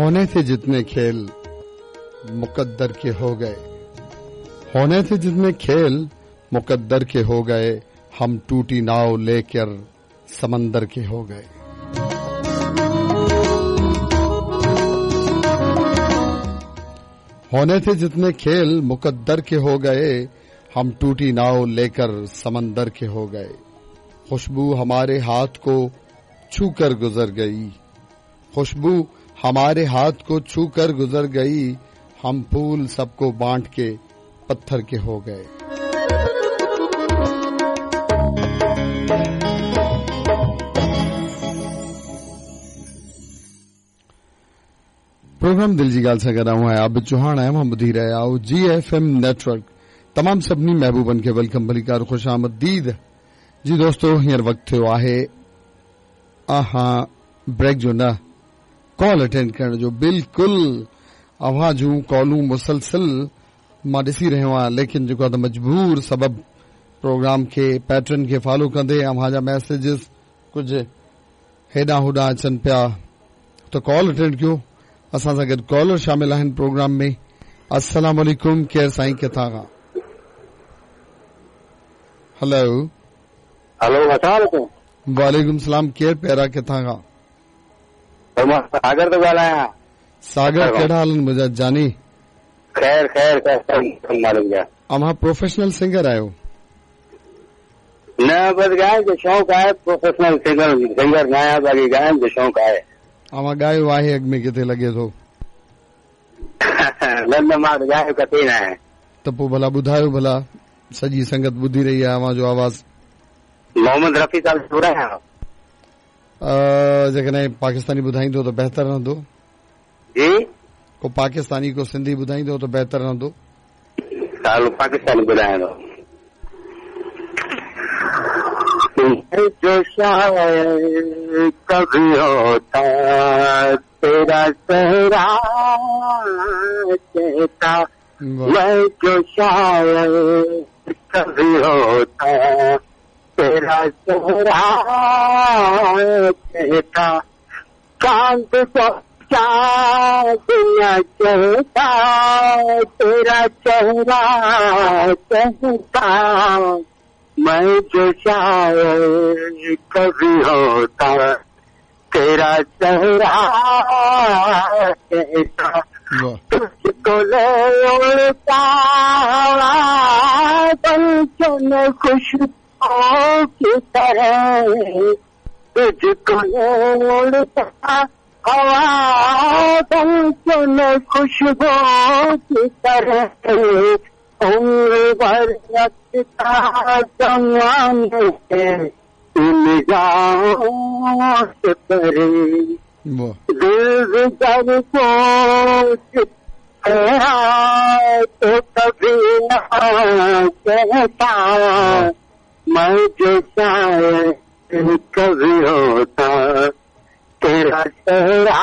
होने थे जितने खेल मुकद्दर के हो गए, होने थे जितने खेल मुकद्दर के हो गए, हम टूटी नाव लेकर समंदर के हो गए। होने थे जितने खेल मुकद्दर के हो गए, हम टूटी नाव लेकर समंदर के हो गए। खुशबू हमारे हाथ को छू कर गुजर गई, खुशबू हमारे हाथ को छू कर गुजर गई, हम फूल सबको बांट के पत्थर के हो गए। प्रोग्राम दिल जी ॻाल्हि सां गॾु आऊं आहियां आबिद चौहान आहियां, मां ॿुधी रहिया आहियो जी एफ एम नेटवर्क। तमामु सभिनी महबूबनि खे welcome भलीकार ख़ुशि आमदीद। जी दोस्तो, हींअर वक़्तु थियो आहे हा ब्रेक जो न, कॉल अटेंड करण जो। बिल्कुलु अव्हां जूं कॉलूं मुसलसल मां ॾिसी रहियो आहियां, लेकिन जेको आहे त मजबूर सबब प्रोग्राम खे पैटर्न खे फॉलो कंदे अव्हां जा मैसेजिस कुझु हेॾां होॾां अचनि पिया, त कॉल अटेंड कयो। असां सां गॾु कॉलर शामिल आहिनि प्रोग्राम में। अस्सलाम वालेकुम, केरु साईं, किथां खां? हेलो हेलो, अस्सलाम वालेकुम। वालेकुम सलाम, केरु प्यारा, किथां खां? मां सागर थो ॻाल्हायां। सागर, कहिड़ा हाल आहिनि मुंहिंजा जानी? ख़ैर ख़ैर ख़ैर मालिक जा। अव्हां प्रोफेशनल सिंगर आहियो? न, बसि ॻाइण जो शौक़ु आहे, प्रोफेशनल सिंगर न आहियां, बाक़ी ॻाइण जो शौक़ु आहे। अव्हां ॻायो आहे अॻु में किथे लॻे थो? न न, मां त ॻायो किथे न आहे। त पोइ भला ॿुधायो, भला सॼी संगत ॿुधी रही आहे अव्हां जो आवाज़। मोहम्मद रफ़ी साहब ॿुधायां। जेकॾहिं पाकिस्तानी ॿुधाईंदो त बहितर रहंदो। जी, को पाकिस्तानी को सिंधी ॿुधाईंदो त बहितर रहंदो। साल पाकिस्तानी ॿुधायां थो। जो शायद कभी होता तेरा चेहरा कहता, मैं जो शायद कभी होता तेरा चेहरा कहता, चांद को चांद न कहता तेरा चेहरा कहता, मैं जो शायद कभी होता तेरा चेहरा कहता, तुझको ले उड़ता बंचन खुशबू की तरह, तुझको ले उड़ता हवा बंचन खुशबू की तरह, उम्र भर रखता जमाने निगाहों से परे, दिल जब सोच तो कभी न कहता, मैं जो शायद कभी होता तेरा चेहरा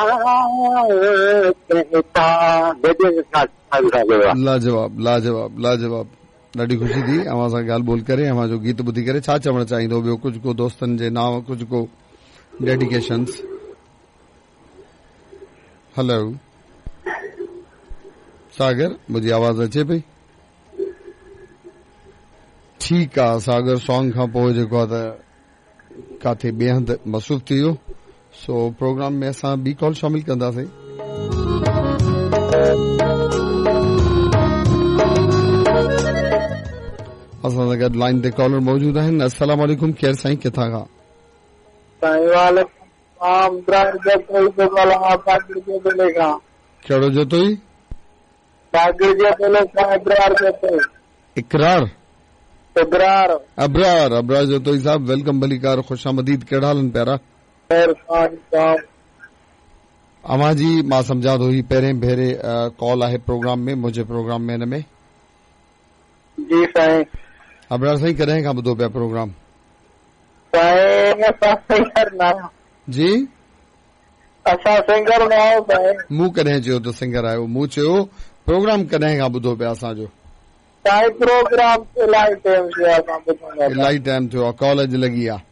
कहता। लाजवाब लाजवाब लाजवाब, ॾाढी ख़ुशी थी अव्हां सां ॻाल्हि ॿोल करे, अव्हां जो गीत ॿुधी करे। छा चवणु चाहींदो ॿियो? कुझु को दोस्तनि जे नांव, कुझु को डेडिकेशंस? हेलो सागर, मुंहिंजी आवाज़ अचे पई? ठीकु आहे सागर, सॉन्ग खां पोइ जेको आहे त काथे ॿिए हंधि मसरूफ़ थी वियो, सो प्रोग्राम में असां ॿी कॉल शामिल कंदासीं। असां सां गॾु लाइन ते कॉलर मौजूदु आहिनि। अस्सलाम वालेकुम, केरु साईं, किथां खां? कहिड़ो जोतोई? इकरार अबरार, अबरार जोतोई साहब, welcome भलीकार, ख़ुशि आमदीद। कहिड़ा हाल आहिनि प्यारा? अव्हां जी मां सम्झां थो ही पहिरें भेरे कॉल आहे प्रोग्राम में, मुंहिंजे प्रोग्राम में हिन में। जी साईं। अबरार साईं, कॾहिं खां ॿुधो पिया प्रोग्राम? साईं असां सिंगर न आहियूं। जी, असां सिंगर न आहियूं साईं। मूं कॾहिं चयो त सिंगर आहियो? मूं चयो प्रोग्राम कॾहिं खां ॿुधो पिया असांजो? साईं प्रोग्राम इलाही टाइम थियो आहे, असां ॿुधंदा। इलाही टाइम थियो आहे, कॉल अॼु लॻी आहे।